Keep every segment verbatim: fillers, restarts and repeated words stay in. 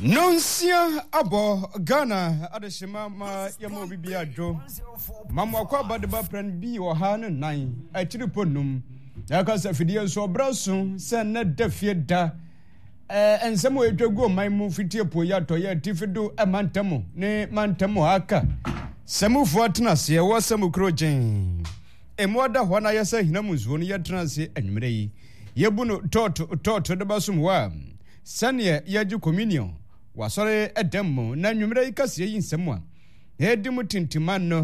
Nonsia abɔ Ghana adehyema ma yɛma obi bi adwo. Ma mo akɔ abadeba prɛn bi ɔha ne nan akyiri pɔ num. Yɛaka sɛ afidie nso ɔbrɛ so sɛ nnɛ da fie da. Ɛɛ nsɛm a ɛtwa gu ɔman mu fiti apueeɛ atɔeɛ atifi do mantam ne mantam a aka. Sɛmufoɔ atena aseɛ wɔ sɛmu kuro gyen. Emu ada hɔ na ayɛ sɛ ahina mu nsuo no yɛtena ase anwummerɛ yi. Yɛbu no tɔɔto tɔɔto de bɛsom wɔ a sɛdeɛ yɛgye communion wɔ asɔre dɛm mu na anwummerɛ yi kaseɛ yi nsɛm a ɛdi mu tintima no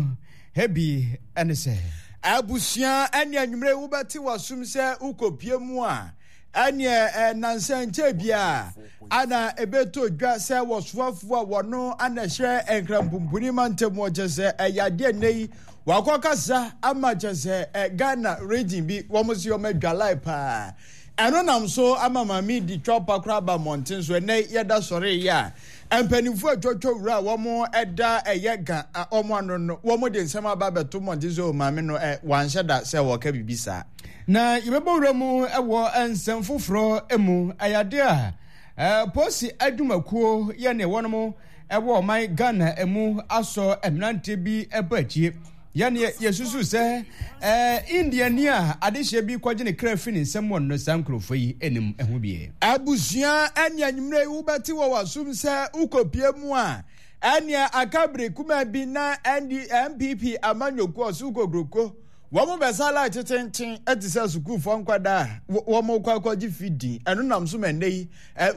bi ne sɛ. Abusua ɛne anwummerɛ yi wobɛte w'asom sɛ wokɔpie mu a ɛneɛ nnansa nkyɛ biara ana ɛbɛtɔ dwa sɛ wɔsoafoɔ a wɔno ana ɛhyɛ Nkrampumpuni mantam wɔ kyɛ sɛ ɛyɛ adeɛ nnɛ yi wakɔkasa ama kyɛ sɛ Ghana region bi wɔn se wɔn adwalae paa. Ɛno nam so ama maame di twɔpa koraa ba mmɔnten so. Ɛnnɛ yɛda sɔre yi a, mpanimfoɔ atwotwo wura a wɔn ɛda ɛyɛ ga wɔn ano no, wɔn de nsɛm aba abɛto mmɔnten so, maame no ɛ wanhyɛ da sɛ wɔka biribi saa. Na yɛbɛbɔ wura mu wɔ nsɛm foforɔ mu. Ɛyɛ adeɛ a polisi adwumakuo yɛ ne wɔnom ɛwɔ ɔman Ghana mu asɔ mmeranteɛ bi ɛbɔ akyie. Yɛne yɛsusu sɛ ɛɛ Indiani a adehyeɛ bi kɔgye ne kra fi ne nsam wɔ no saa nkurɔfoɔ yi anim ho bie. Abusua ɛne anwummerɛ yi wobɛte wɔ w'asom sɛ wokɔpie mu a ɛneɛ aka bere kumaa bi na N D N P P amanyɔkuo ɔso kokroko wɔn bɛsa line tetenten te sɛ sukuufoɔ nkwadaa a wɔn kɔ akɔgye fidin. Ɛno nam so ma nnɛ yi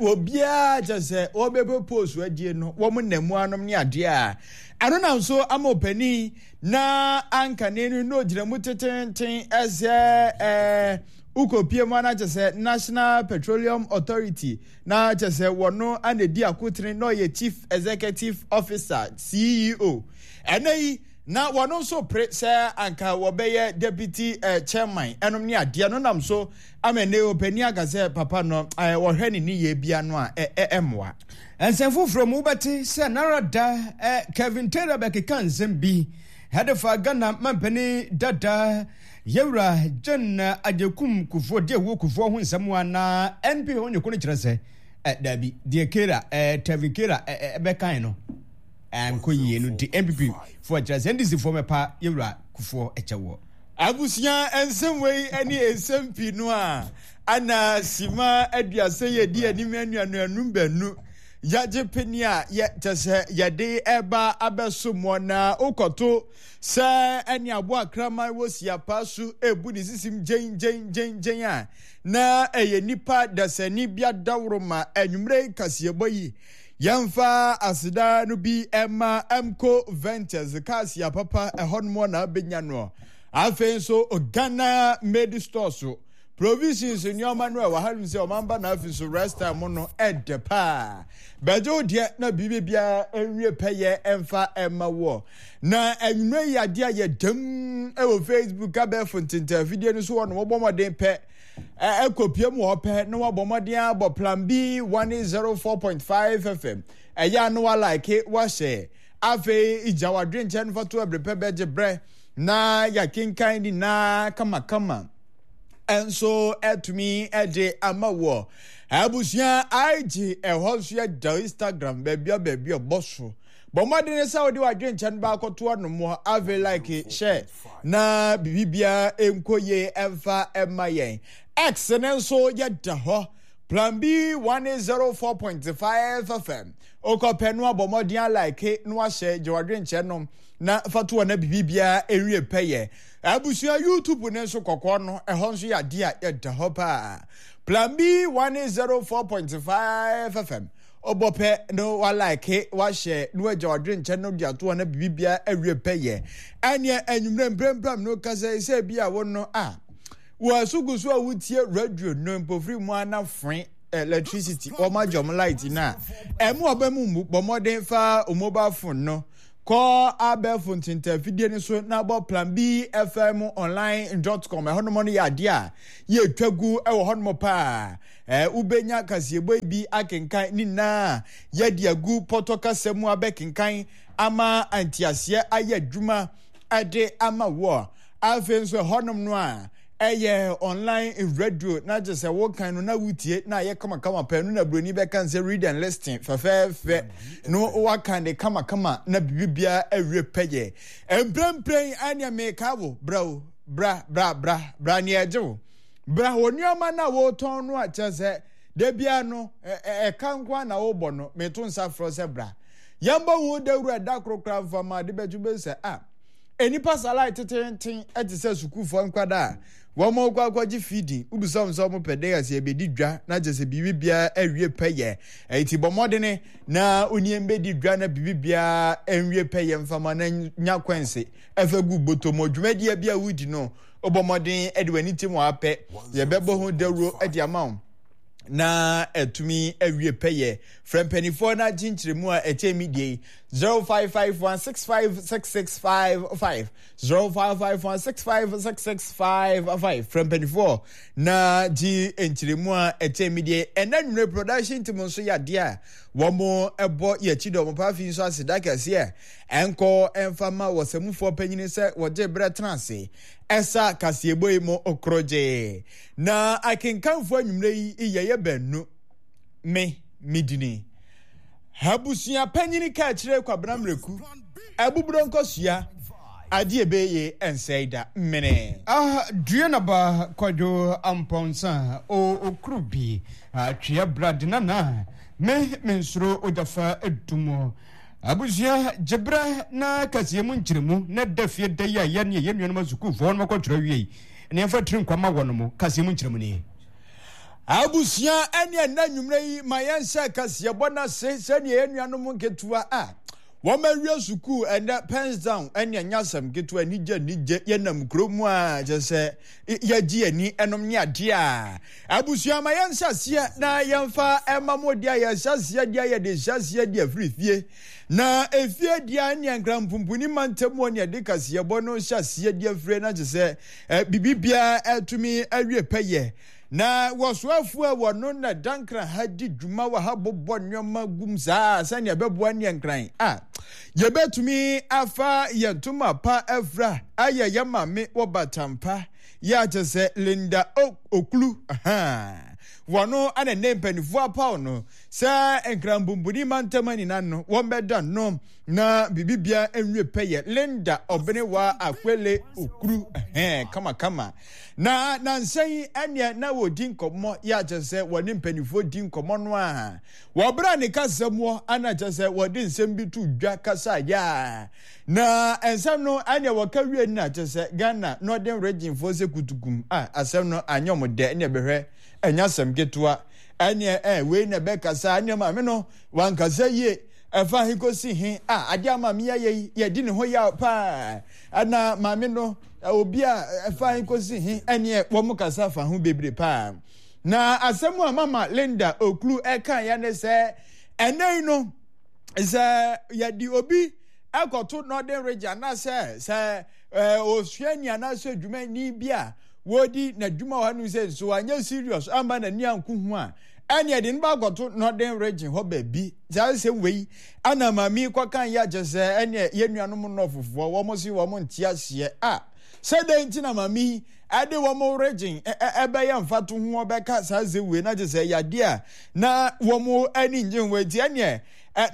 obiara kyɛ sɛ wɔbɛpɛ post adie no wɔn nam mu anom ne adeɛ a ɛno nam so ama ɔpanin na ankane no na ogyina mu tetenten sɛ ɛɛ wokɔpie mu ana kyɛ sɛ National Petroleum Authority na kyɛ sɛ wɔno ana di akotene na ɔyɛ Chief Executive Officer, C E O. Ɛnɛ yi na wɔno nso pere sɛ anka wɔbɛyɛ deputy uh, chairman ɛnom ne adeɛ no nam so ama ɛnɛ ɔpanin aka sɛ papa no uh, wɔhwɛ ne ne yɛ bia no a ɛmmoa. Nsɛm foforɔ mu wobɛte sɛ nara da eh, Kevin Taylor bɛkeka nsɛm bi ɛde fa Ghana mampanin dada yɛwura John Agyekum Kufuor deɛ ɛwɔ Kufuor ho nsɛm a na N P ho nyɛko no kyerɛ sɛ eh, dabi deɛ Kera eh, Kevin Taylor ɛbɛkan no ɛnkɔ yie no nti N P P foɔ kyerɛ sɛ N D C foɔ mɛpa yɛwura Kufuor ɛkyɛ wɔ. Abusua, nsɛm wei ne nsɛm pii no a ana sima aduasa yɛ di anim anuanuanum baanu yɛagye pene a yɛ kyɛ sɛ yɛde ɛba abɛso mɔ na wokɔto sɛ ɛne aboa kraman wɔ siapa so ebu ne sisim gyen gyen gyen gyen a na ɛyɛ nipa dasani bi adaworo ma anwummerɛ kaseɛbɔ yi yɛmfa aseda no bi ɛma Mco Ventures kaasia papa ɛhɔnom na abɛnya no. Afei nso Ghana Made Store so provisions nneɛma no a ɛwɔ ha nom sɛ ɔman na afei nso rest time no ɛdɛ paa bɛgye wo deɛ na biribi biara nwie pɛyɛ ɛmfa ɛma wɔ. Na anwummerɛ yi adeɛ a yɛdam ɛwɔ Facebook abɛɛfo ntenten afidie no so wɔ no wɔbɔ mmɔden pɛ ɛkɔpie mu hɔ pɛ na wɔabɔ mmɔden abɔ Plan B one zero four point five F M. Ɛyɛ a na walike wahyɛ afei gya wadwenkyɛ no fa to ɛbere pɛ bɛgye brɛ na yɛakenkan nyinaa kamakama ɛnso ɛtumi ɛde ama wɔ. Abusua, I G ɛhɔ nso yɛ da Instagram baabi a baabi a ɔbɔ so bɔ mmɔden sɛ wode wadwenkyɛ no baakɔto anom. Afei like hyɛ na biribiara nkɔ yie ɛmfa ɛma yɛn. X ne nso yɛda hɔ Plan B one zero four point five F M. Okɔpɛ no abɔ mmɔden alike na wahyɛ gye wadwenkyɛ no na fa to na biribiara ɛwie pɛyɛ. Abusua, YouTube ne nso kɔkɔɔ no ɛhɔ nso yɛ adeɛ a yɛda hɔ paa Plan B one zero four point five F M. Ɔbɔ pɛ no walike wahyɛ na wagya wadwenkyɛ no de ato hɔ na biribiara awie pɛyɛ. Ɛneɛ anwummerɛ mprempram no kasa sɛ bi a wo no a wɔaso gu so a wotie radio no mpofiri mu ana foe electricity wɔn agye wɔn light na ɛmu ɔbɛ mu mu bɔ mmɔden fa mobile phone no kɔ abɛɛfo ntentafidie no so na bɔ Plan B F M online dot com. Ɛhɔnom no yɛ adeɛ a yɛtwa gu ɛwɔ hɔnom paa. Ɛɛ wobɛnya kaseɛbɔ yi bi akenkan ne nyinaa yɛde agu pɔtɔ kasa mu abɛkenkan ama nteaseɛ ayɛ adwuma ɛde ama wɔ. Afei nso ɛhɔnom no a Ɛyɛ online radio na kyerɛ sɛ wokan no na wotie na ayɛ kamakama pɛɛ no na buroni bɛka sɛ read and listen fɛfɛɛfɛ no wakan de kamakama na biribiara awie pɛyɛ. Mprempren ɛneɛ meka wo bra o bra bra bra bra neɛ ɛgye wo bra wɔ nneɛma no a wɔretɔn no a kyerɛ sɛ da biara no ɛka nko a na wobɔ no meto nsa frɛ sɛ bra yɛmbɔ ho dawuro ɛda koro koraa mfa ma ade bɛtwe bɛhu sɛ a nnipa salai tetenten te sɛ sukuufoɔ nkwadaa a wɔn kɔ akɔgye feeding wobisa wɔn sɛ wɔn pɛ dɛ ase ɛbɛdi dwa na kyerɛ sɛ biribi biara awie pɛyɛ ɛti bɔ mmɔdene na onie mbɛdi dwa na biribi biara nwie pɛyɛ mfama na nya kwanse ɛfɛ gu bɔtɔ mu dwumadie bi a wodi no wobɔ mmɔden de w'ani tim wɔ apɛ yɛbɛbɔ ho dawuro de ama wo na atumi awie pɛyɛ. Frɛ mpanimfoɔ no agye nkyerɛmu a ɛkyɛn mi deɛ yi zero five five one six five six six five five zero five five one six five six six five five. Frɛ mpanimfoɔ na gye nkyerɛmu a ɛkyɛn mi deɛ. Ɛnna nwere production team nso yɛ adeɛ a wɔn ɛbɔ yɛ akyi dɔm pa afi nso aseda kɛseɛ ɛnkɔ ɛnfa ma wɔsɛmufoɔ panyin sɛ wɔgye berɛ tena ase ɛsa kaseɛbɔ yi mu korogye. Na akenkanfo anwummerɛ yi yɛyɛ baanu. Me, me dini. Abusua panyin ka kyerɛ Kwabena Mmereku, Abuburo nkosua, adeɛ ɛbɛyɛ ɛnsɛe da, mene. Ah, due na ba Kwadwo Ampɔnsa, o okuru bi, atwea bra de nana, me mensuro ogyafa dum. Abusua, gye berɛ na kaseɛ mu nkyerɛmu na da fie da yi a yɛne yɛn nuanom asukuufoɔ no akɔtwerɛ awie yi, na yɛmfa tiri nkwa ma wɔnom. Kaseɛ mu nkyerɛmu nie. Abusua, ɛne ɛnnɛ anwummerɛ yi, ma yɛnhyɛ kaseɛbɔ no ase sɛdeɛ yɛn nuanom nketewa a wɔawie sukuu ɛnnɛ pens down ɛne ɛnyɛ asɛm ketewa, anigye anigye, yɛnam kuro mu a kyerɛ sɛ yɛgye ani ɛnom ne adeɛ a. Abusua, ma yɛnhyɛ aseɛ na yɛmfa ɛma mo deɛ a yɛhyɛ aseɛ deɛ yɛde hyɛ aseɛ deɛ firi fie na efie deɛ ɛne nkrampumpuni mantam wɔ ne ɛde kaseɛbɔ no hyɛ aseɛ deɛ firi na kyerɛ sɛ biribiara ɛtumi awie pɛyɛ. Na wɔsoafoɔ a wɔno na dankran ha di dwuma wɔ ha bobɔ nneɛma gum saa sɛnea ɛbɛboa ne nkran a yɛbɛtumi afa yɛn ntoma pa afira ayɛ yɛn maame wɔ batampa yɛ akyɛ sɛ Linda Okulu wɔno ana ne mpanimfoɔ apaw no sɛ nkranpumpuni mantam nyinaa no wɔn bɛda no na biribiara nwie pɛyɛ. Linda Ɔbenewa Akwele Okuru kamakama. Na nansa yi ɛneɛ na wɔdi nkɔmmɔ yɛ akyɛ sɛ wɔne mpanimfoɔ di nkɔmmɔ no a wɔbrɛ ne kasa mu ana kyɛ sɛ wɔde nsɛm bi to dwa kasa yɛ a na nsɛm no ɛneɛ wɔka wie no akyɛ sɛ Ghana Northern Region foɔ sɛ kutukum a asɛm no anyɛ ɔmo dɛ ɛneɛ bɛhwɛ ɛnyɛ asɛm ketewa ɛneɛ ɛ wei na ɛbɛkasa ɛneɛ maame no wankasa yie ɛfa he kɔsi he a adeɛ a maame yɛyɛ yi yɛdi ne ho yaw paa ɛna maame no obi a ɛfa he kɔsi he ɛneɛ wɔn kasa fa ho bebree paa. Na asɛm a mama Linda Okulu ɛka yɛ ne sɛ ɛnɛ yi no sɛ yɛde obi ɛkɔto Northern Region anaasɛ sɛ osuani anaasɛ dwumani bi a wɔdi n'adwuma wɔ ha no sɛ nso anyɛ serious amma n'ani anko ho a ɛne ɛde no bakɔto Northern Region hɔ baabi. Saa nsɛm wei ana maame kɔka yɛ akyɛ sɛ ɛne yɛn nuanom nnɔfofoɔ wɔn se wɔn nte aseɛ a sɛ dɛn nti na maame ɛde wɔn region ɛbɛyɛ mfato ho ɔbɛka saa nsɛm wei na kyɛ sɛ yadeɛ a na wɔn ani ngye ho nti ɛneɛ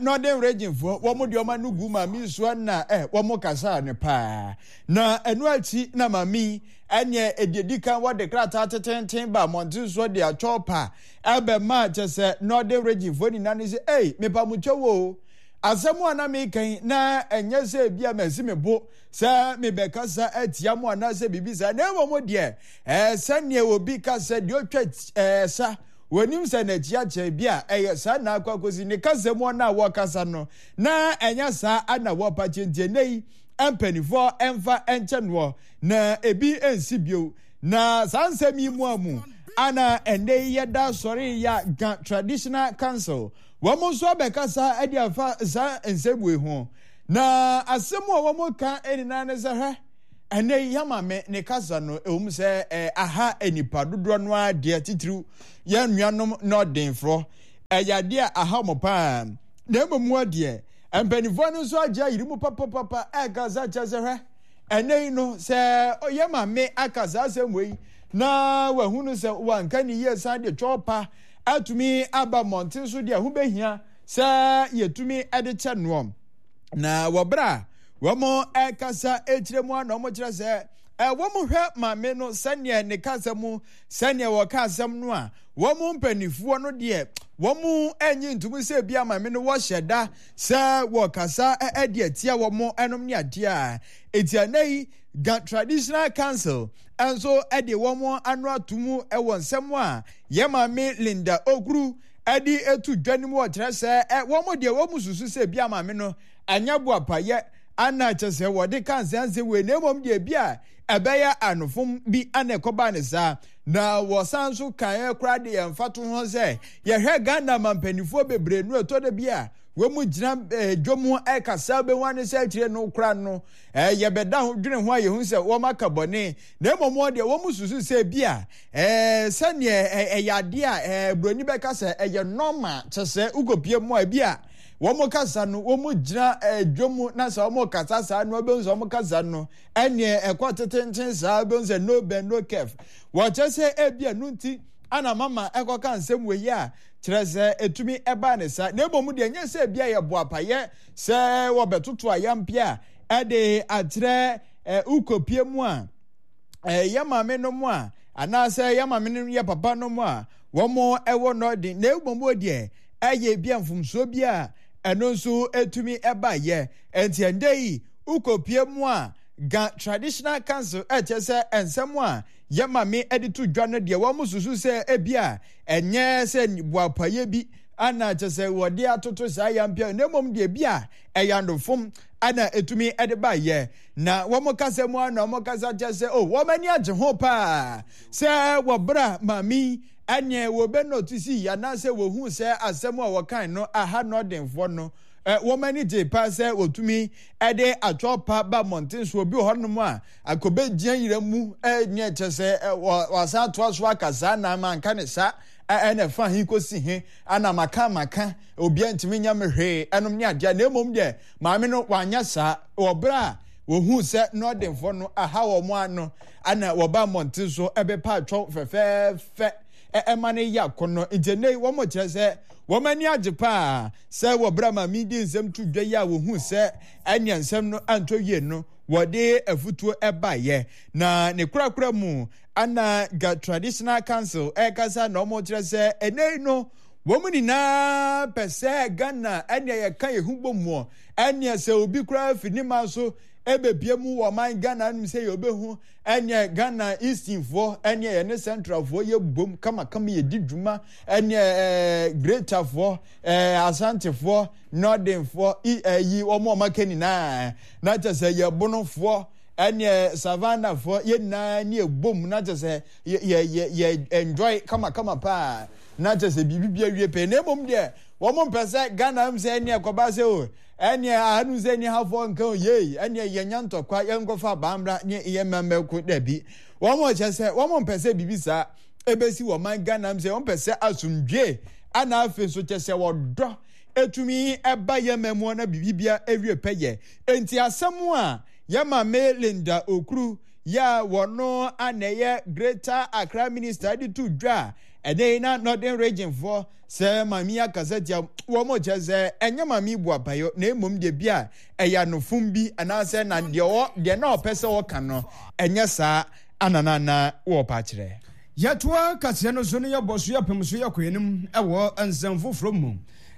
Northern Region foɔ wɔn deɛ wɔn ano gu maame so na ɛ wɔn kasa ne paa. Na ɛno akyi na maame ɛneɛ ɛdi kan wɔde krataa tetenten ba mmɔnten so de atwɔ pa ɛbɛma kyɛ sɛ Northern Region foɔ nyinaa ne sɛ ei mepa mo kyɛw o asɛm a na meka na ɛnyɛ sɛ ebi a masi me bo sɛ mebɛkasa atia mo anaasɛ biribi saa na mmom deɛ ɛɛ sɛneɛ obi ka sɛ deɛ ɔtwa ɛɛ sa wɔnim sɛ n'akyi akyɛ bi a ɛyɛ saa na akɔ akɔsi ne kasa mu no a wɔkasa no na ɛnyɛ saa ana wɔpa kyɛntie ne yi mpanimfoɔ ɛmfa ɛnkyɛ noɔ na ebi nsi bio. Na saa nsɛm yi mu a mu ana ɛnɛ yi yɛda sɔre ya Ga Traditional Council wɔn nso abɛkasa ɛde afa saa nsɛm wei ho. Na asɛm a wɔn ka nyinaa ne sɛ hwɛ ɛnɛ yi yama me ne kasa no ɛwom sɛ eh, aha nipa dodoɔ no ara deɛ titiriw yɛn nuanom nɔdenfoɔ ɛyɛ adeɛ a aha wɔn paa. Na mmom deɛ mpanimfoɔ no nso agye ayiri mu papapapa ɛkasa kyerɛ sɛ hwɛ ɛnɛ yi no sɛ ɔyɛ maame aka saa asɛm wei Na wahunu sɛ wanka ne yie san de twɛw pa atumi aba mmɔnten so deɛ ho bɛhia sɛ yɛtumi de kyɛ noɔ. Na wɔberɛ a wɔn ɛkasa akyire mu a na wɔn kyerɛ sɛ wɔn hwɛ maame no sɛdeɛ ne kasa mu, sɛdeɛ wɔka asɛm no a, wɔn mpanimfoɔ no deɛ wɔn anyi ntom sɛ bi a maame no wɔhyɛ da sɛ wɔkasa de atia wɔn ɛnom ne adeɛ a. Eti ɛnɛ yi Ga Traditional Council nso de wɔn ano ato mu wɔ nsɛm a yɛ maame Linda Okuru de etu dwa no mu. Wɔkyerɛ sɛ wɔn deɛ wɔn susu sɛ bi a maame no anya boapayɛ ana kyɛ sɛ wɔde ka nsɛnsɛ wei, na mmom deɛ bi a ɛbɛyɛ anofom bi ana ɛkɔba ne saa. Na wɔsan nso kaeɛ koraa de yɛn fa to ho sɛ yɛhwɛ Ghana mampanimfoɔ bebree no, ɛtɔ da bi a wɔn mu gyina dwom ɛkasa bɛhu ane sɛ akyire no koraa no yɛbɛda ho dwene ho a yɛhu sɛ wɔn aka bɔne. Na mmom wɔn deɛ wɔn susu sɛ bi a sɛneɛ ɛyɛ adeɛ a buroni bɛka sɛ ɛyɛ normal, kyɛ sɛ wokɔpie mu a bi a wɔn kasa no wɔn gyina dwom na sɛ wɔn kasa saa no wɔbɛhu sɛ wɔn kasa no ɛneɛ ɛkɔ tetenten saa, bɛhu sɛ no bend no curve. Wɔkyerɛ sɛ ebi a no nti ana mama ɛkɔka nsɛm wɔ yi a kyerɛ sɛ ɛtumi ɛbaa ne sa. Na mmom deɛ nyɛ sɛ ebi a yɛ boapayɛ sɛ wɔbɛtoto ayampia ɛde akyerɛ ukopie mu a yɛ maame no mu a anaasɛ yɛ maame no yɛ papa no mu a wɔn ɛwɔ nɔɔden. Na mmom deɛ ɛyɛ bi a mfomsoɔ bi a ɛno nso ɛtumi ɛba yɛ. Nti ɛndɛ yi ukopie mu a Ga Traditional Council ɛkyɛ sɛ nsɛm a yɛ maame ɛde to dwa no deɛ wɔn susu sɛ ebi a ɛnyɛ sɛ boapayɛ bi ana kyɛ sɛ wɔde atoto saa yampia, na mmom deɛ bi a ɛyɛ andofom ana ɛtumi ɛde ba yɛ. Na wɔn kasa mu ana wɔn kasa kyɛ sɛ o wɔn ani agye ho paa sɛ wɔbra maame ɛneɛ wɔbɛ nɔtisi anaasɛ wɔhu sɛ asɛm a wɔkan no aha nɔdenfoɔ no, wɔn ani gye paa sɛ wɔtumi ɛde atwɔ pa ba mmɔnten so. Obi wɔ hɔnom a akɔbɛgyina yira mu ɛneɛ kyɛ sɛ wɔasan atoa so aka saa na manka ne saa ɛna ɛfa he kɔsi he ana maka maka obiara ntumi nya me hwee ɛnom ne adeɛ. Na mmom deɛ maame no wanyɛ saa. Wɔ berɛ a wɔhuu sɛ nɔdenfoɔ no aha wɔn ano ana wɔba mmɔnten so ɛbɛpa atwɔ fɛfɛɛfɛ ɛma no yɛ akɔnnɔ. Nti ɛnnɛ yi wɔn kyerɛ sɛ wɔn ani agye paa sɛ wɔ berɛ a maame di nsɛm to dwa yi a wɔhuu sɛ ɛnea nsɛm no antɔ yie no wɔde afutuo ɛbaeɛ. Na ne korakora mu ana Ga Traditional Council ɛkasa na wɔn kyerɛ sɛ ɛnnɛ yi no wɔn nyinaa pɛ sɛ Ghana ɛnea yɛka yɛn ho bɔ mu, ɛnea sɛ obi koraa fi ne man so ɛbɛpie mu wɔ ɔman Ghana anim sɛ yɛbɛhu ɛnea Ghana Easternfoɔ ɛnea yɛne Centralfoɔ yɛ bom kamakama yɛdi dwuma, ɛnea ɛɛ Greaterfoɔ ɛɛ Asantefoɔ, Northernfoɔ ɛyi wɔn a wɔaka nyinaa na kyɛ sɛ yɛbonofoɔ ɛnea Savannahfoɔ yɛn nyinaa ne yɛbom na kyɛ sɛ yɛ yɛ yɛ enjoy kamakama paa na kyɛ sɛ biribi bi awie pɛɛ. Na mmom deɛ wɔn mpɛ sɛ Ghana m sɛ ɛnea kɔba sɛ o ɛnea ahanu sɛ ɛnea hafoɔ nka o yei ɛnea yɛnya ntɔkwa yɛnkɔfa abambra ne yɛ mmɛmmɛko dabi. Wɔn kyɛ sɛ wɔn mpɛ sɛ biribi saa ebesi wɔ man Ghana m sɛ wɔn pɛ sɛ asomdwe ana afei nso kyɛ sɛ wɔdɔ etumi ɛba yɛ mɛmoa na biribi bia ewie pɛ yɛ. Enti asɛm a yɛ maame Linda Okuru yɛ a wɔno ana ɛyɛ Greater Accra Minister de to dwa a ɛnɛ yi na Northern Region foɔ sɛ maame akasa tia wɔn kyɛ sɛ ɛnyɛ maame bu apayɔ, na mmom deɛ bi a ɛyɛ anofom bi anaasɛ na deɛ ɔ deɛ na ɔpɛ sɛ ɔka no ɛnyɛ saa ananana wɔpa kyerɛ. Yɛtoa kaseɛ no so no yɛbɔ so yɛpem so yɛkɔ anim ɛwɔ nsɛm foforɔ mu.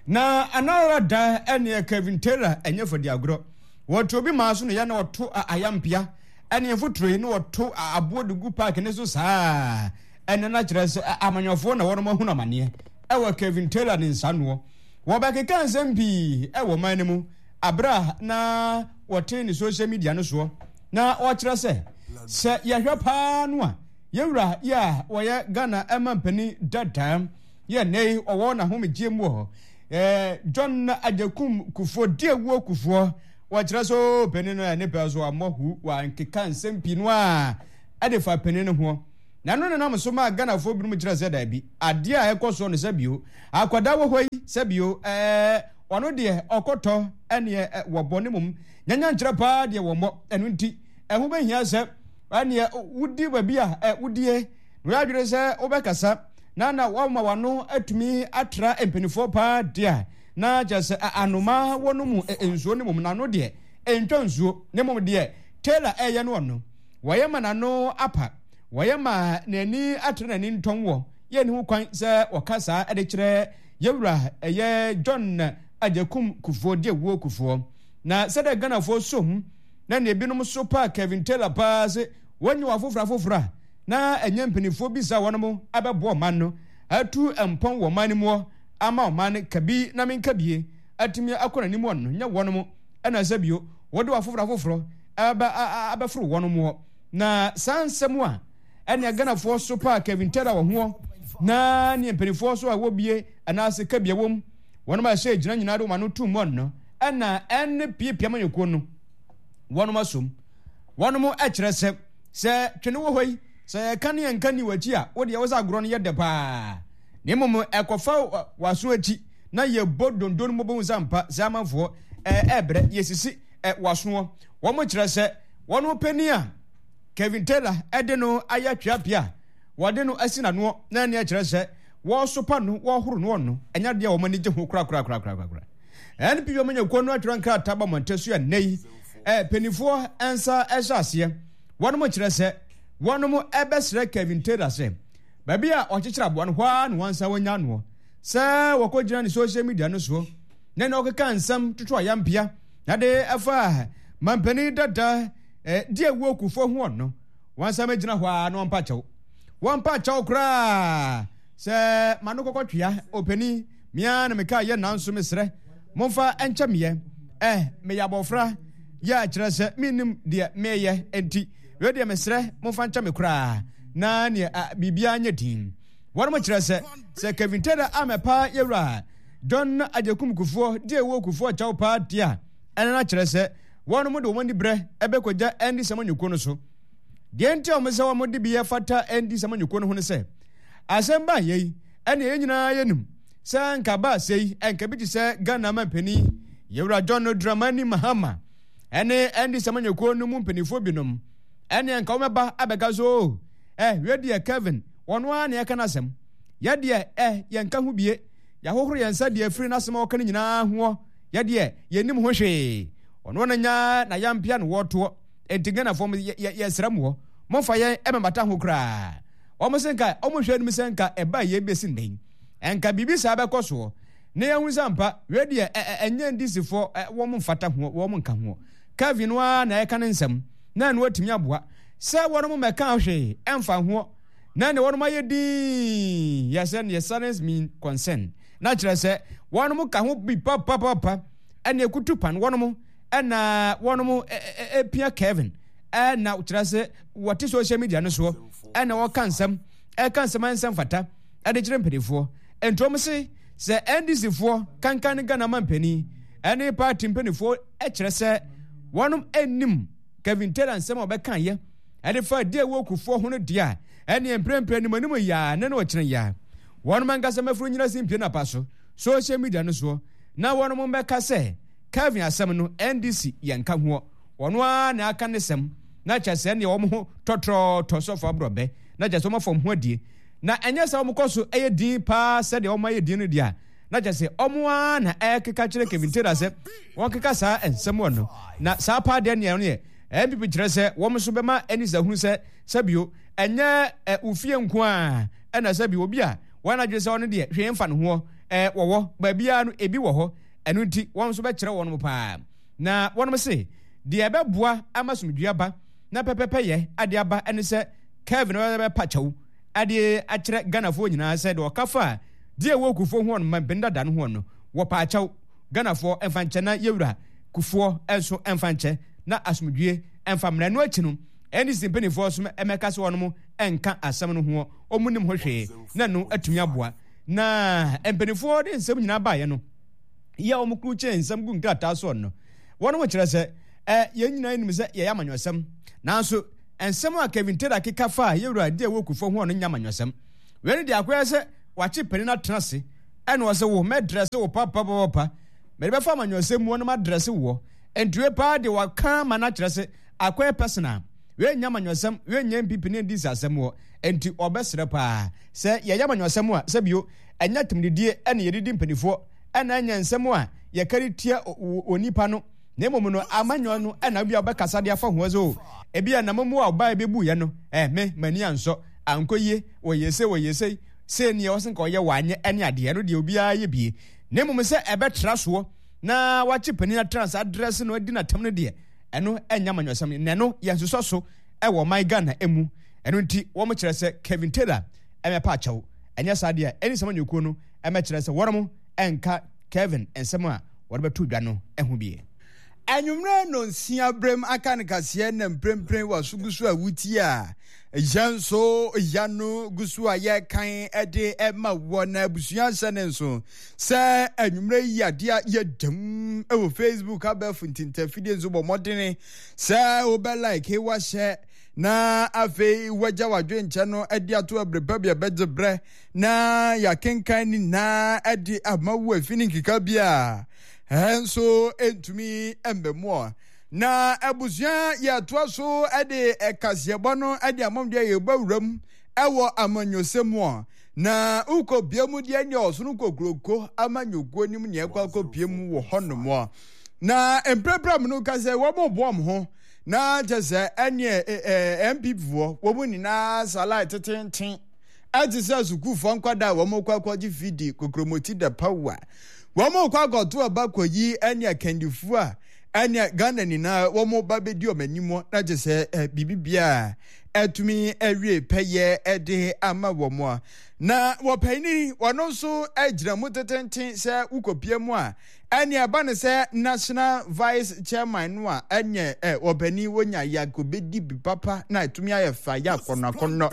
Na anara da ɛneɛ Kevin Taylor ɛnyɛ fadi agorɔ. Wɔto obi maa so no yɛ na ɔto ayampia ɛne mfoturo yi na wɔto aboɔ de gu park ne so saa. Ɛne na kyerɛ sɛ amanyɔfoɔ na wɔnom ahunu amaneɛ ɛwɔ Kevin Taylor ne nsanoɔ. Wɔbɛkeka nsɛm pii ɛwɔ man no mu abere a na wɔte ne social media no soɔ na wɔkyerɛ sɛ sɛ yɛhwɛ paa no a yɛwura yɛ a wɔyɛ Ghana ɛma mpanin dada yɛ nne yi ɔwɔ n'ahomegye mu wɔ ɛɛ John Agyekum Kufuor Diewuo Kufuor. Wɔkyerɛ so panin no ɛne pɛ so ammɔ hu wankeka nsɛm pii no a ɛde fa panin no ho. Na ɛno nenam so maa Ghanafoɔ binom kyerɛ sɛ daabi adeɛ a ɛkɔ soɔ no sɛ bio akwadaa wɔ hɔ yi sɛ bio ɛɛ ɔno deɛ ɔkɔtɔ ɛneɛ wɔbɔ ne mom nyanya nkyerɛ paa deɛ wɔmmɔ. Ɛno nti ɛho bɛhia sɛ ɛneɛ wodi baabi a ɛ wodie Na wɔyɛ adwene sɛ wobɛkasa na na wɔama w'ano atumi atra mpanimfoɔ paa deɛ a, na kyerɛ sɛ anomaa wɔ no mu nsuo no mmom n'ano deɛ ɛntwa nsuo, na mmom deɛ Taylor ɛreyɛ no ɔno, wɔyɛ ma n'ano apa, wɔyɛ ma n'ani atra n'ani ntɔn wɔ yɛnni ho kwan sɛ wɔka saa de kyerɛ yɛwura ɛyɛ John Agyekum Kufuor deɛ wuo Kufuor. Na sɛdeɛ Ghanafoɔ som na nea ebinom so pa Kevin Taylor paa se wɔnyɛ wɔ afoforɔ afoforɔ a na ɛnyɛ mpanimfoɔ bi saa wɔnom abɛboa ɔman no atu mpɔn wɔ ɔman no muɔ ama ɔman no kabi na menka bie atumi akɔ n'anim wɔ no nyɛ wɔnom ɛna sɛ bio wɔde wɔ afoforɔ afoforɔ ɛbɛ abɛforo wɔnom wɔ na saa nsɛm a ɛne Ghanafoɔ so pa Kevin Taylor wɔ hoɔ na ne mpanimfoɔ so a wɔbie anaasɛ kabia wɔm wɔnom a ɛhyɛ gyina nyinaa de wɔn ano tum wɔn no ɛna ɛne piapia manyɔkuo no wɔnom asom wɔnom ɛkyerɛ sɛ sɛ twene wɔ hɔ yi sɛ yɛka ne yɛnka ni w'akyi a wo deɛ wo sɛ agorɔ no yɛ dɛ paa na mmom ɛkɔfa w'aso akyi na yɛbɔ dondo no mmɔbɔ hu sɛ ampa sɛ amanfoɔ ɛɛbrɛ yɛsisi w'asoɔ. Wɔn kyerɛ sɛ wɔn panin a Kevin Taylor ɛde no ayɛ tweapea a wɔde no asi n'anoɔ na ɛne ɛkyerɛ sɛ wɔsopa no wɔhoro no ɔno ɛnyɛ adeɛ a wɔn ani gye ho korakorakorakorakora. N P P amanyɔkuo no atwerɛ nkrataa ba mmɔnten so ɛnnɛ yi mpanimfoɔ nsa ɛhyɛ aseɛ. Wɔn kyerɛ sɛ wɔn ɛbɛsrɛ Kevin Taylor sɛ baabi a ɔkyekyere aboa no hɔ ara na wɔn nsa wɔnya noɔ sɛ wɔkɔgyina ne social media no soɔ na na ɔkeka nsɛm toto ayampea na de ɛfa mampanin dada eh, di awuo Kufuor ho ɔno wɔn nsa mɛgyina hɔ ara na wɔmpa kyɛw wɔmpa kyɛw koraa sɛ ma no kɔkɔ twea ɔpanin mea na meka yɛ nanso mesrɛ momfa nkyɛ meɛ eh, meyɛ abɔfra yɛ akyerɛ sɛ mennim deɛ meyɛ enti wei deɛ mesrɛ momfa nkyɛ me koraa na neɛ biribiara nyɛ din. Wɔnom kyerɛ sɛ sɛ Kevin Taylor amɛpa yɛwura John Agyekum Kufuor deɛ ɛwɔ Kufuor kyɛw paa deɛ a ɛno no akyerɛ sɛ wɔnom de wɔn ani berɛ ɛbɛkɔgya Andy Samanyɔkuo no so. Deɛ nti a wɔn sɛ wɔn de bi ɛfata Andy Samanyɔkuo no ho ne sɛ asɛm baa yei ɛne yɛn nyinaa yɛnim sɛ nka baa sei ɛnka bi te sɛ Ghana mampanin yɛwura John Dramani Mahama ɛne Andy Samanyɔkuo no mu mpanimfoɔ binom ɛne nka wɔmɛba abɛka so o eh wei deɛ Kevin wɔn ara na ɛka n'asɛm yɛ deɛ eh yɛnka ho bie yɛahohoro yɛn nsa deɛ afiri n'asɛm a wɔka no nyinaa hoɔ yɛ deɛ yɛnim ho hwee ɔno na nya na yampea no wɔtoɔ enti Ghanafoɔ mo yɛsrɛ moɔ momfa yɛn ɛmɛmata ho koraa wɔn se nka wɔn hwɛ anim sɛ nka ɛba yɛ bɛsi nnɛ nka biribi saa bɛkɔ soɔ na yɛhu sɛ ampa wei deɛ ɛnyɛ ndisifoɔ wɔn mfata ho wɔn nka ho Kevin no ara na ɛka ne nsɛm na ɛno atumi aboa sɛ wɔn mo mɛka hwee ɛmfa ho na ne wɔn ayɛ din yɛ sɛ ne silence mean concern na kyerɛ sɛ wɔn mo ka ho bi papapapa ɛna ekutu pan wɔn mo ɛna wɔn mo epia Kevin ɛna kyerɛ sɛ wɔte social media no soɔ ɛna wɔka nsɛm ɛka nsɛm nsɛm fata ɛde kyerɛ mpanimfoɔ nti wɔn se sɛ N D C foɔ kankan ne Ghana ma mpanin ɛne party mpanimfoɔ ɛkyerɛ sɛ wɔn anim Kevin Taylor nsɛm a ɔbɛka yɛ ɛde fa di ɛwɔ Kufuor ho no deɛ a ɛne mprempren anim anim yaa ne na ɔkyerɛ yaa wɔn ankasa mɛforo nyina si mpie napa so social media no soɔ na wɔn mbɛka sɛ Kevin asɛm no N D C yɛn ka hoɔ wɔn ara na aka ne sɛm na kyerɛ sɛ neɛ wɔn ho tɔtrɔtɔ sɔfo aborɔbɛ na kyerɛ sɛ wɔn afɔm ho adie na ɛnyɛ sɛ wɔn kɔ so ɛyɛ din paa sɛdeɛ wɔn ayɛ din no deɛ a na kyerɛ sɛ wɔn ara na ɛkeka kyerɛ Kevin Taylor sɛ wɔn keka saa nsɛm wɔ no na saa paa deɛ neɛ no yɛ N P P kyerɛ sɛ wɔn nso bɛma ɛne sɛ hunu sɛ sɛbio ɛnyɛ ɛ ofie nko a ɛna sɛbio obi a wɔn adwene sɛ ɔno deɛ hwee mfa ne hoɔ ɛ wɔwɔ baabiara no ebi wɔ hɔ ɛno nti wɔn nso bɛkyerɛ wɔn paa na wɔn se deɛ ɛbɛboa ama somdua ba na pɛpɛpɛ yɛ ade aba ɛne sɛ Kevin bɛpa kyɛw ade akyerɛ Ghanafoɔ nyinaa sɛ deɛ ɔka fa deɛ ɛwɔ Kufuor ho no mampanin dada no ho no wɔpa akyɛw Ghanafoɔ ɛmfa nkyɛ na yɛwura Kufuor nso ɛmfa nkyɛ na asomdwie ɛmfa mmra no akyi no N D C mpanimfoɔ nso ɛmɛka sɛ wɔn ɛnka asɛm no ho wɔn nim ho hwee na no atumi aboa na mpanimfoɔ de nsɛm nyinaa baeɛ no yɛ wɔn kuru kyɛn nsɛm gu nkrataa soɔ no wɔn kyerɛ sɛ ɛ yɛn nyinaa nim sɛ yɛyɛ amanyɔsɛm nanso nsɛm a Kevin Taylor keka fa yɛwura deɛ ɛwɔ Kufuor ho no nyɛ amanyɔsɛm wei no deɛ akɔyɛ sɛ wakye panin atena ase ɛna ɔsɛ wo mɛdrɛse wo papapapa mɛde bɛfa amanyɔsɛm mu ɔno madrɛse woɔ ntue paa deɛ waka ma no akyerɛ sɛ akɔyɛ personal wei nyɛ amanyɔsɛm wei nyɛ N P P ne N D C asɛm wɔ Enti ɔbɛsrɛ paa sɛ yɛyɛ amanyɔsɛm a, sɛbio ɛnyɛ atemdidie ɛne yɛdidi mpanimfoɔ, ɛna ɛnyɛ nsɛm a yɛkari tia onipa no, na mmom no amanyɔ no ɛna bi a wobɛkasa de afa ho sɛ o ebi a nam mu a ɔbaa bɛbu yɛ no, eh, me m'ani ansɔ, ankɔ yie, wɔyɛ se wɔyɛ se sei neɛ ɔsɛ nka ɔyɛ wanyɛ ɛne adeɛ no deɛ obiara yɛ bie, na mmom sɛ ɛbɛtra soɔ na wakye panin atena saa dress no adi n'atam no deɛ, ɛno ɛnyɛ amanyɔsɛm, na ɛno yɛnsosɔ so ɛwɔ ɔman Ghana emu. Ɛno nti wɔn kyerɛ sɛ Kevin Taylor ɛmɛpa akyɛw, ɛnyɛ saa deɛ ɛne sɛm anyɔkuo no ɛmɛkyerɛ sɛ wɔn ɛnka Kevin nsɛm a wɔde bɛto dwa no ɛho bie. Anwummerɛ no nsia berɛm aka no kaseɛ na mprempren waso gu so a wutie a yɛn nso ya no gu so a yɛkan de ɛma wɔ na abusua hyɛ ne nso sɛ anwummerɛ yi adeɛ a yɛdam wɔ Facebook abɛɛfo ntintafidie nso bɔ mmɔdene sɛ wobɛ like wahyɛ na afei wagya wadwenkyɛ no de ato abere pa bi a bɛgye berɛ na yɛakenkan ne nyinaa de ama wo afi ne nkeka bi a ɛnso ntumi mbɛmoa. Na abusua yɛtoa so de ɛkaseɛbɔ no de amam deɛ yɛbɔ wuram ɛwɔ amanyɔsɛm mu a na wokɔ bia mu deɛ ne ɔsono kokuroko amanyɔkuo nim neɛ ɛkɔ akɔpie mu wɔ hɔnom a na mprɛprɛ mu no ka sɛ wɔn boɔ mo ho na kyɛ sɛ ɛneɛ N P P foɔ wɔn nyinaa salae tetenten ɛte sɛ sukuufoɔ nkwadaa a wɔn kɔ akɔgye fidi kokromoti da pawa wɔn kɔ akɔto aba kɔyi ɛne akandifoɔ a ɛne Ghana nyinaa wɔn ba bɛdi wɔn anim na kyɛ sɛ biribi biara ɛtumi awie pɛyɛ ɛde ama wɔn a na wɔpɛni wɔn nso gyina mu tetenten sɛ wokɔpie mu a ɛne ɛba ne sɛ national vice chairman no a ɛnyɛ ɛ wɔpɛni wonya yakobɛdi bi papa na ɛtumi ayɛ fa yɛ akɔnɔ akɔnɔ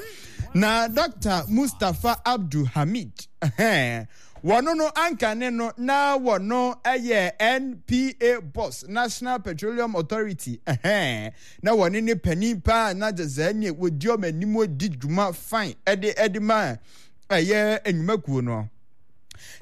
na Doctor Mustapha Abdul Hamid ɛhɛn wɔno no anka ne no na wɔno ɛyɛ N P A boss, National Petroleum Authority, ɛhɛn na wɔne ne panin paa na kyerɛ sɛ ɛne wɔdi ɔmo anim di dwuma fine ɛde ɛde ma ɛyɛ nnwumakuo no.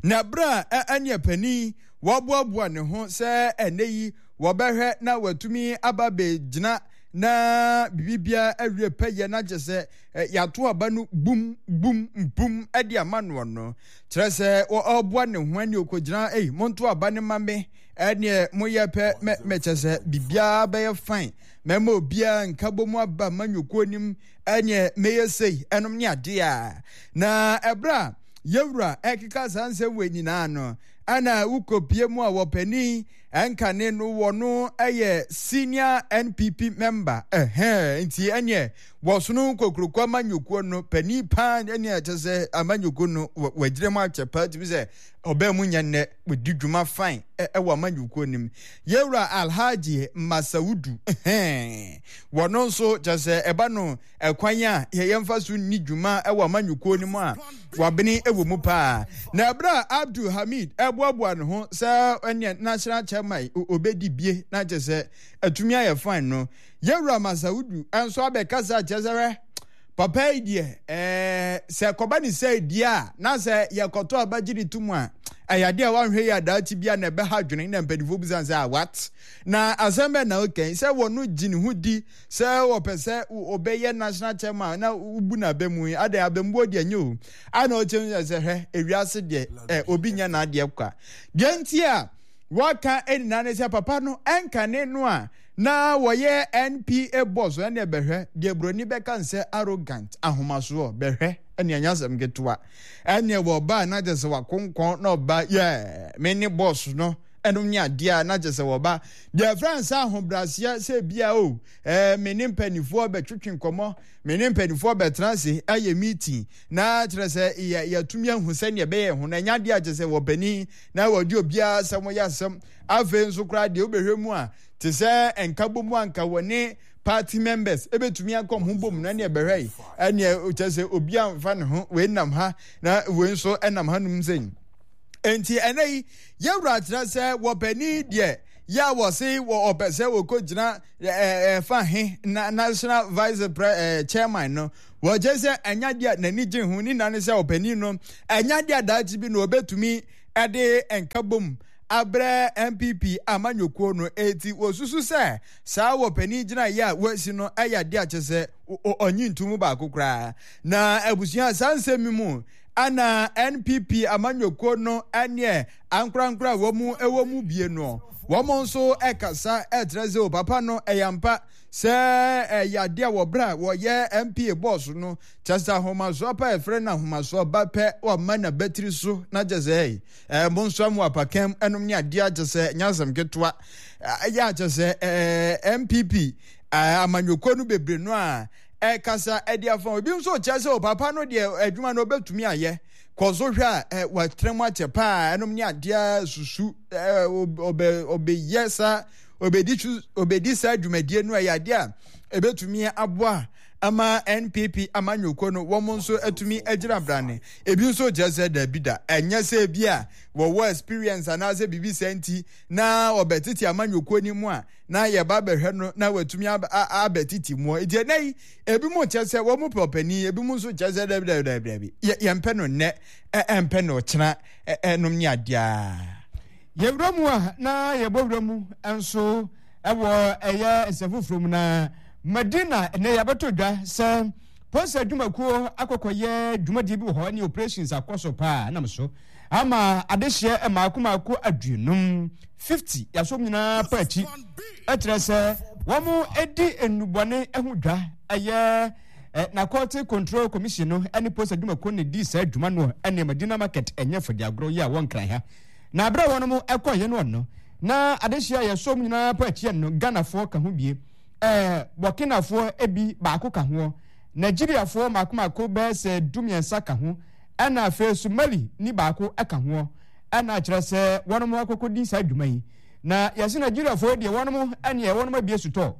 Na berɛ a ɛne panin wɔaboaboa ne ho sɛ ɛnɛ yi wɔbɛhwɛ na wɔatumi aba bɛgyina na biribiara awie pɛyɛ na kyerɛ sɛ yɛato aba no bum bum bum ɛde ama noɔ no kyerɛ sɛ ɔboa ne ho ani ɔkɔgyina ei monto aba ne ma me ɛneɛ moyɛ pɛ mɛkyɛ sɛ biribiara bɛyɛ fine mɛma obiara nka bɔ mu aba ma nyokuo nim ɛneɛ mɛyɛ sei ɛnom ne adeɛ a na ɛberɛ a yɛwura ɛkeka saa nsɛm wɔ nyinaa no ɛna wokɔpie mu a wɔpanin ɛnkane no wɔ no ɛyɛ senior N P P member ɛhɛn nti ɛneɛ wɔsono kokuroko amanyɔkuo no panin paa ɛneɛ kyɛ sɛ amanyɔkuo no wɔagyina mu akyɛ paa tumi sɛ ɔbɛn mu nyɛ nnɛ wɔdi dwuma fine ɛwɔ amanyɔkuo no mu. Yɛwura Alhaji Masaudu ɛhɛn wɔno nso kyɛ sɛ ɛba no ɛkwan a yɛmfa so nni dwuma ɛwɔ amanyɔkuo no mu a wabene ɛwɔ mu paa. Na ɛberɛ a Abdul Hamid ɛboaboa ne ho sɛ ɛneɛ national chairman obɛdi bie na kyɛ sɛ atumi ayɛ fine no, yɛwura Masaudu nso abɛkasa kyerɛ sɛ hwɛ papa yi deɛ ɛɛ sɛ kɔba ne sɛ die a na sɛ yɛkɔtɔ abagye ne tum a ɛyɛ adeɛ a wanhwɛ yi adaakye bi a na ɛbɛha adwene na mpanimfoɔ bisa sɛ a what na asɛm bɛn na ɔka yi sɛ wɔno gye ne ho di sɛ wɔpɛ sɛ ɔbɛyɛ national chairman na wobu n'aba mu yi adɛn abɛmbuo deɛ nyɛ o ana ɔkyɛm sɛ hwɛ ewiase deɛ ɛ obi nyɛ n'adeɛ kwa deɛ nti a wɔka nyinaa ne sɛ papa no ɛnka ne no a na wɔyɛ N P A boss ɛne bɛhwɛ deɛ buroni bɛka nsɛ arrogant ahomasoɔ bɛhwɛ ɛne anya asɛm ketewa ɛne wɔba na kyerɛ sɛ wakonkɔn na ɔba yɛ me ne boss no ɛno ne adeɛ a na kyerɛ sɛ wɔba deɛ ɛfrɛ sɛ ahobrɛaseɛ sɛ bia o ɛɛ me ne mpanimfoɔ bɛtwetwe nkɔmmɔ me ne mpanimfoɔ bɛtena ase ayɛ meeting na kyerɛ sɛ yɛ yɛtumi ahu sɛnea ɛbɛyɛ ho na ɛnya adeɛ a kyerɛ sɛ wɔpanin na wɔde obiara asɛm yɛ asɛm afei nso koraa deɛ wobɛhwɛ mu a te sɛ nka bom anka wɔne party members ebetumi akɔm ho bom na ne ɛbɛhwɛ yi ɛne kyerɛ sɛ obi amfa ne ho wei nam ha na wei nso ɛnam ha nom sɛn enti ɛnɛ yi yɛwura kyerɛ sɛ wɔpanin deɛ yɛ a wɔse wɔ ɔpɛ sɛ wɔkɔgyina ɛfa he na national vice pre ɛɛ chairman no wɔkyerɛ sɛ ɛnya deɛ n'ani gye ho ne nane sɛ ɔpanin no ɛnya deɛ daakye bi na ɔbɛtumi ɛde nka bom abrɛ N P P amanyɔkuo no. Eti wɔsusu sɛ saa wɔ panin gyinaeɛ a wɔasi no ɛyɛ adeɛ a kyɛ sɛ ɔnyi ntom baako koraa. Na abusua, saa nsɛm yi mu ana N P P amanyɔkuo no ɛneɛ ankorankora a wɔn ɛwɔ mu bie no, wɔn nso ɛkasa ɛkyerɛ sɛ o papa no, ɛyɛ ampa sɛ ɛyɛ adeɛ a wɔbrɛ a wɔyɛ N P A boss no, kyɛ sɛ ahomasoɔ pa ɛfrɛ no ahomasoɔ ba pɛ, wɔma n'abatiri so na kyɛ sɛ ɛɛ mo nso mo apakam ɛnom ne adeɛ akyɛ sɛ nyɛ asɛm ketewa. Ɛyɛ akyɛ sɛ ɛɛ N P P amanyɔkuo no bebree no a ɛkasa ɛde afa. Ebi nso kyerɛ sɛ o papa no deɛ, adwuma no ɔbɛtumi ayɛ kɔ so. Hwɛ a ɛ wɔatena mu akyɛ paa ɛnom ne adeɛ susu ɛ ɔbɛ ɔbɛyɛ saa, ɔbɛdi su, ɔbɛdi saa dwumadie no. Ɛyɛ adeɛ a ɛbɛtumi aboa ama N P P amanyɔkuo no, wɔn nso atumi agyina brane. Ebi nso kyerɛ sɛ dabi da, ɛnyɛ sɛ ebi a wɔwɔ experience anaasɛ biribi sɛ nti na ɔbɛtete amanyɔkuo no mu a na yɛba bɛhwɛ no na watumi abɛtete mu. Nti ɛnɛ yi, ebi mu kyerɛ sɛ wɔn pɛ ɔpanin, ebi mu nso kyerɛ sɛ dabi dabi dabi dabi, yɛmpɛ no nnɛ, ɛmpɛ no ɔkyena, ɛnom ne adeɛ. Yɛwura mu a na yɛbɔ wura mu nso ɛwɔ ɛyɛ nsɛm foforɔ mu. Na Madina ɛnɛ yɛabɛtɔ dwa sɛ polisi adwumakuo akɔkɔyɛ dwumadie bi wɔ hɔ ne operations akɔ so paa, nam so ama adehyeɛ mmaako mmaako aduonum, fifty, yɛasom nyinaa pa akyi, ɛkyerɛ sɛ wɔn di nnubɔne ho dwa. Ɛyɛ Narcotic Control Commission no ne polisi adwumakuo ne di saa adwuma no ɛne Madina Market. Ɛnyɛ fɔde agorɔ yi a wɔn nkran ha na abere a wɔn ɛkɔ yɛ no no na adehyeɛ a yɛsom nyinaa pa akyi no, Ghanafoɔ ka ho bie, ɛɛ Burkinafoɔ ebi baako ka ho, Nigeriafoɔ mako mako bɛyɛ sɛ dumiɛnsa ka ho, ɛna afei Somali ni baako ka ho. Ɛna kyerɛ sɛ wɔn akɔkɔ di saa adwuma yi. Na yɛsɛ Nigeriafoɔ deɛ, wɔn ɛneɛ wɔn abie sotɔ,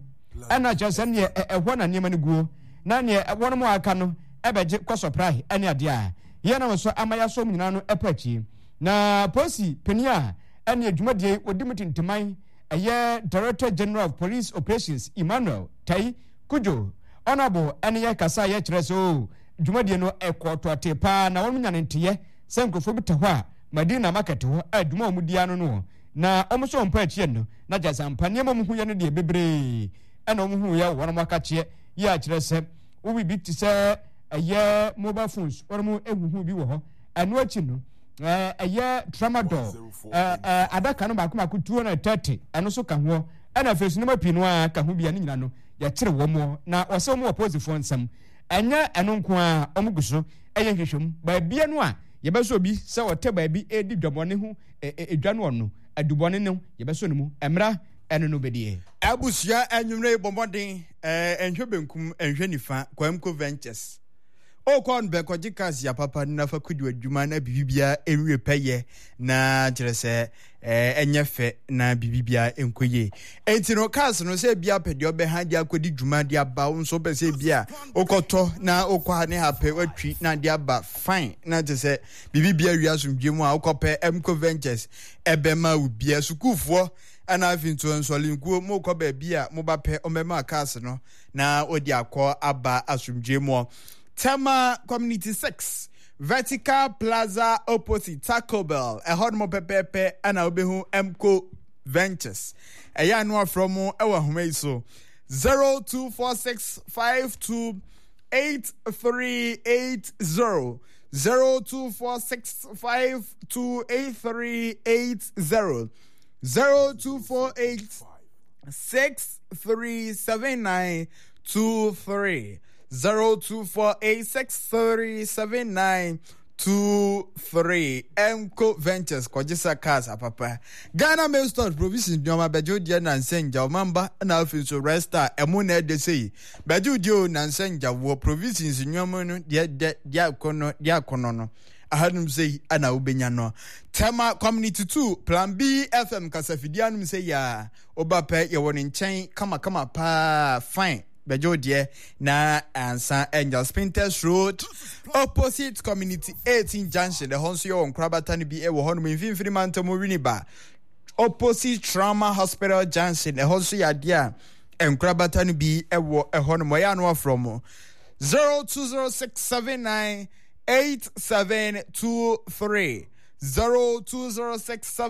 ɛna kyerɛ sɛ neɛ ɛhɔ na nneɛma no guo, na neɛ wɔn aka no ɛbɛgye kɔ supply ɛne adeɛ a yɛn nam so ama yɛasɔ mu nyinaa no ɛpɛ akyi. Na polisi panin a ɛne adwumadie odi mu tintiman, ɛyɛ Director General of Police Operations Emmanuel Tai Kujo ɔnabo, ɛne yɛ kasa yɛ kyerɛ sɛ o dwumadie no ɛkɔ tɔte paa, na wɔn nya ne nteyɛ sɛ nkurɔfoɔ bi te hɔ a Madina Market hɔ a adwuma a wɔn di ano no, na wɔn nso wɔn mpa akyi no na gya sampa nneɛma wɔn ho yɛ no deɛ bebree ɛna wɔn ho yɛ wɔn akakyeɛ yɛ akyerɛ sɛ wowi bi te sɛ ɛyɛ mobile phones, wɔn mo ehuhu bi wɔ hɔ. Ɛno akyi no, ɛɛ ɛyɛ tramadol ɛɛ ɛɛ adaka no baako baako two hundred and thirty, ɛno nso ka ho. Ɛna afei so nneɛma pii no a ka ho bi a ne nyinaa no yɛkyerɛ wɔn, na wɔsɛ wɔn wɔ polisifoɔ nsam. Ɛnyɛ ɛno nko a, wɔn gu so ɛyɛ nhwehwɛmu baabia no a yɛbɛsɔ obi sɛ ɔtɛ baabi edi dwabɔne ho edwa no, ɔno adubɔne no yɛbɛsɔ no mu mmra ɛno no bɛdie. Abusua, anwummerɛ yi bɔ mmɔden ɛɛ nhwɛ benkum, nhwɛ nifa. Kwamko Ventures okɔ no bɛkɔgye cars ya papa no nafa kodi adwuma na biribiara nwie pɛyɛ, na kyerɛ sɛ ɛɛ ɛnyɛ fɛ na biribiara nkɔ yie. Enti no cars no, sɛ ebia pɛ deɛ ɔbɛha de akɔdi dwuma de aba, wo nso pɛ sɛ ebia wokɔtɔ na wokɔ ha ne ha pɛ watwi na de aba fine, na kyerɛ sɛ biribiara wie asomdwe mu a wokɔpɛ Mco Ventures ɛbɛma wo bia. Sukuufoɔ ɛna afei nso nsɔlenkuo mokɔ baabi a moba pɛ, ɔmbɛma cars no na wɔde akɔ aba asomdwe mu. Tema Community six, Vertical Plaza opposite Taco Bell, ɛhɔ nom pɛpɛɛpɛ ɛna wobɛhu Mco Ventures. Ɛyɛ ano afrɛ mu ɛwɔ ahoma yi so: zero two four six five two eight three eight zero, zero two four six five two eight three eight zero, zero two four eight six three seven nine two three, zero two four eight six three seven nine two three. Mco Ventures, kɔgye sa cars apapa. Ghana Mail Stores Provisions nneɛma bɛgye wo deɛ nansa ngya ɔmamba, na afei nso Resta ɛmo na ɛde sɛ yi bɛgye wo deɛ o nansa ngya wɔ provisions nneɛma no deɛ dɛ deɛ akɔnɔ deɛ akɔnɔ no ahanom sɛ yi ana wobɛnya no. Tema Community two, Plan B F M kasafidie anom sɛ yi a woba pɛ, yɛwɔ ne nkyɛn kamakama paa fine. Bɛgye wo deɛ na ansa ɛnya Spintex Road opposite Community eighteen junction, ɛhɔ nso yɛwɔ nkorabata no bi ɛwɔ hɔnom. Mfimfini Mantam, Winiba opposite Trauma Hospital junction, ɛhɔ nso yɛ adeɛ a nkorabata no bi ɛwɔ ɛhɔnom. Ɔyɛ ano afrɛ mo zero two zero six seven nine eight seven two three, zero two zero six seven.